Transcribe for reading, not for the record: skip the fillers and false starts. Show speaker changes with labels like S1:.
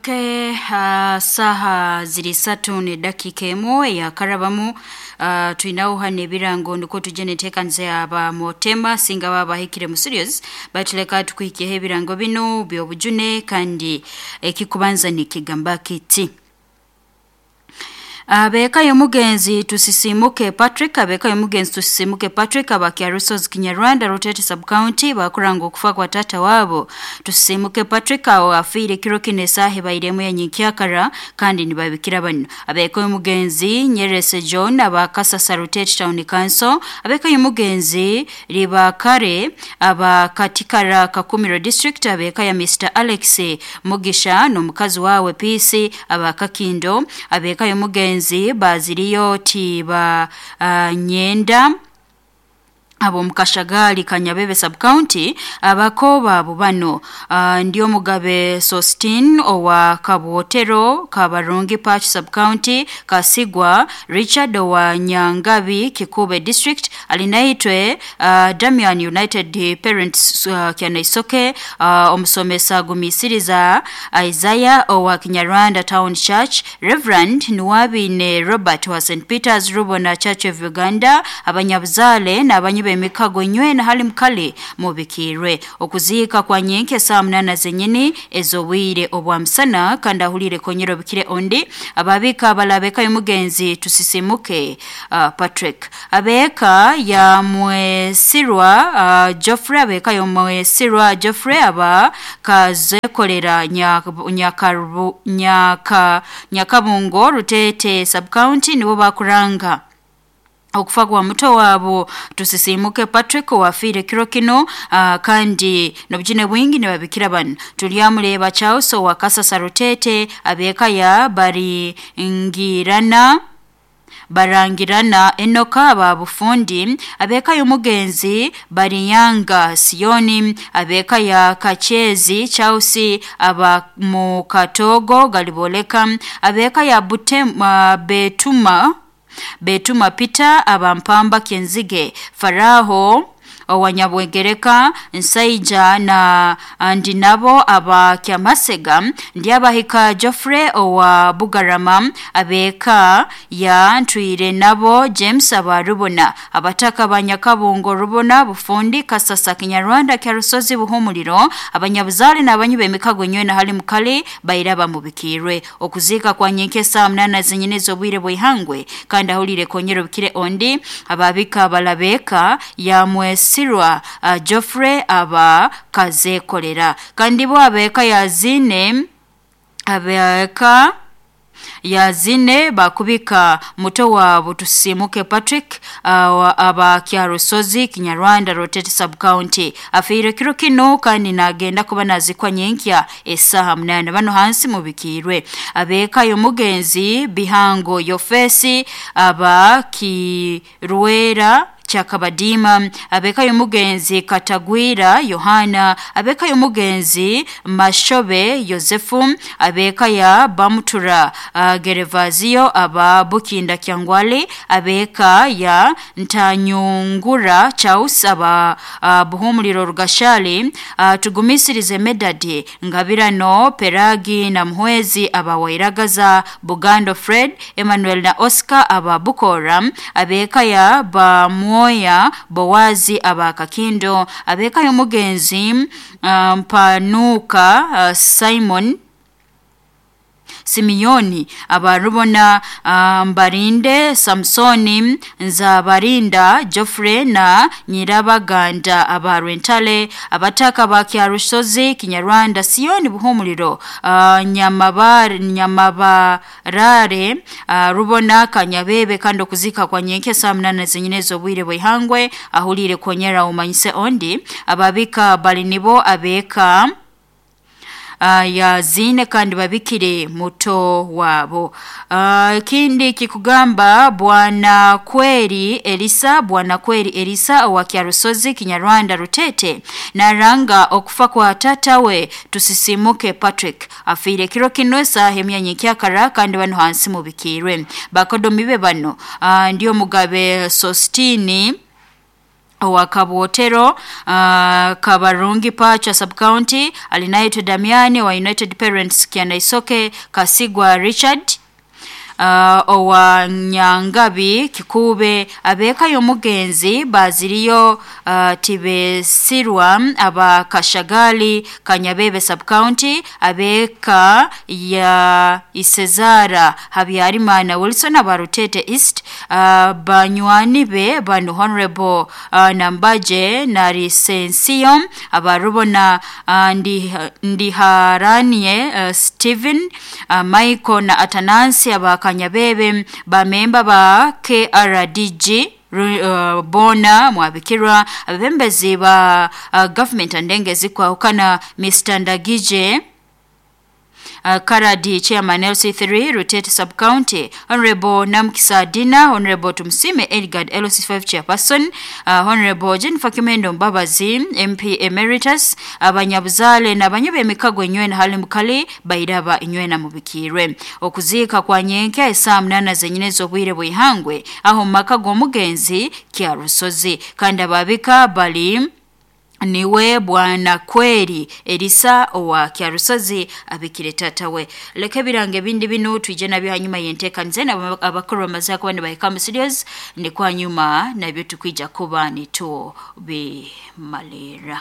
S1: Okay, saaha ziri isatu n'edakiika emu eyakarabamu twinaho hano ebirango nikwo tujye n'enteekaniza ya Motema singa baba bahikire mu studios batuleka tukuhikyeho ebirango binu by'obujune kandi ekikubanza nikigamba kiti Abeka y'omugenzi tusisimuke Patrick abeka y'omugenzi tusisimuke Patrick abakya Rusozi Kinyarwanda Rutete sub county bakuranga okufa kwa tata wabo tusisimuke Patrick awo afiire kiro kino esaaha ebairemu ya nyenkyakara kandi nibabikira bano abeka y'omugenzi Nyerese John abakasasa Rutete Town Council abeka y'omugenzi Ribakare abakatikara Kakumiro District abeka ya Mr Alex Mugisha n'omukazi wawe Peace abakakindo abeka y'omugenzi baziriyo tiba nyenda abo mukashagali kanyabebe sub county abakoba abo bano ndi omugabe Sostin owa Kabwotero Kabarungi Patch sub county Kasigwa Richard owa Nyangabi Kikube district alinaitwe Damian United Parents Kyanaisoke omusomesa gumisiriza Isaiah owa Kinyarwanda Town Church Reverend Nuwabine Robert wa St Peters Rubona Church of Uganda abanyabuzale n'abanyi b'emikago nywena hali mukale mubikirwe okuziika kwa nyenke saa munana zenyini ez'obwire obwa musana kandi ahulire konyera obikire ondi ababika abalabeka y'omugenzi tusisimuke Patrick abeeka ya mwesirwa Geoffrey abeeka y'omwesirwa Geoffrey aba kazekolera nyakabungo Rutete sub county nibo bakuranga okufa kwa muto wabo tusisimuke Patrick wafiire kiro kino kandi n'obujune bwingi nibabikira bano tulyamureba Charles owa Kasasa Rutete abeeka ya baringirana barangirana Enoka aba bufundi abeeka y'omugenzi Bariyanga Sioni abeeka ya Kachezi Charles aba mu Katogo Galiboleka abeeka ya Butema Betuma Peter abampamba Kenzige Faraho owanyabwegereka Nsaija na ndi nabo aba Kyamasega ndi abahika Geoffrey owa Bugarama abeeka ya Ntwire nabo James aba Rubona abataka banyakabungo Rubona Bufundi Kasasa Kinyarwanda Kyarusozi Buhumuliro abanyabuzale n'abanyi b'emikago nywena hali mukale bairaba mubikirwe okuziika kwa nyenke saa munana zenyine z'obwire bw'ihangwe kandi ahulire konyera obukire ondi ababika balabeka ya mwesirwa Geoffrey aba kazekolera kandi bo abeeka yazine abeeka yazine bakubika muto wabo tusimuke Patrick aba Kyarusozi Kinyarwanda Rotete sub county afiire kiro kino kandi nagenda kuba nazikwa nyenkya esaha munana bano hansi mubikirwe abeeka y'omugenzi Bihango Yofesi aba Kirwera Chakabadima abeka y'omugenzi Katagwira Yohana abeka y'omugenzi Mashobe Yosefu abeka ya Bamutura Gerevazio aba Bukinda Kyangwale abeka ya Ntanyungura Charles aba Buhumuliro Rugashali tugumisirize Medadi Ngabirano Peragi na Muhwezi aba Wairagaza Bugando Fred Emmanuel na Oscar aba Bukora abeka ya Bamuo Bowazi aba Kakindo abeka y'omugenzi Mpanuka Simon Simiyoni abarubona Mbarinde Samsoni Nzabarinda Geoffrey na Nyirabaganda abarwentale abataka ba Kyarusozi Kinyarwanda Sioni Buhumuliro Nyamabarare Rubona Kanyabebe kandi okuzika kwa nyenke saa munana zenyine z'obwire bw'ihangwe ahulire konyera umanyise ondi ababika bali nibo abeka ya zine kandi babikire muto wabo ikindi kikugamba bwana kweri Elisa bwana kweri Elisa owa Kyarusozi Kinyarwanda Rutete naranga okufa kwa tata we tusisimuke Patrick afiire kiro kino esaaha emyanya ekyakara kandi bano hansi mubikirwe bakodomi be bano ndiyo mugabe Sostini Owa Kabwotero, Kabarungi Pacha Subcounty, Alinaitwe Damiani wa United Parents Kyanaisoke, Kasigwa Richard owa Nyangabi Kikube, abeka y'omugenzi Baziriyo Tibesirwa aba Kashagali Kanyabebe Subcounty, abeka ya Isezara Habyarimana Wilson aba Rutete East, banywani be banu Honorable Nambaje na Lisensiyo aba Rubona, Ndiharanie Stephen, Michael na Atanasi aba Kanyabebe, bamemba ba KRDG bona mwabikirwa, abebembezi ba government andenge zikwahukana, Mr Ndagije Karadi Chairman LC3 Rutete Sub-County, Honorable Namkisa Dina, Honorable Tumsime Edgard LC5 Chairperson, Honorable Jennifer Kimendo Mbabazi MP Emeritus, abanyabuzale n'abanyebe emikago enywena hali mukali bairaba inywena mubikirwe. Okuziika kwa nyenke esaa 8 zenyine z'obwire bw'ihangwe aho mu maka g'omugenzi Kyarusozi, kandi ababika bali niwe Bwana Kweri Elisa owa Kyarusozi abikire tata we. Leka ebirango ebindi binu twije nabyo hanyuma yenteekanize abakuru bamaze kuba nibahika mu studios, ni kwa nyuma nabyo tukwija kuba nitubimalira.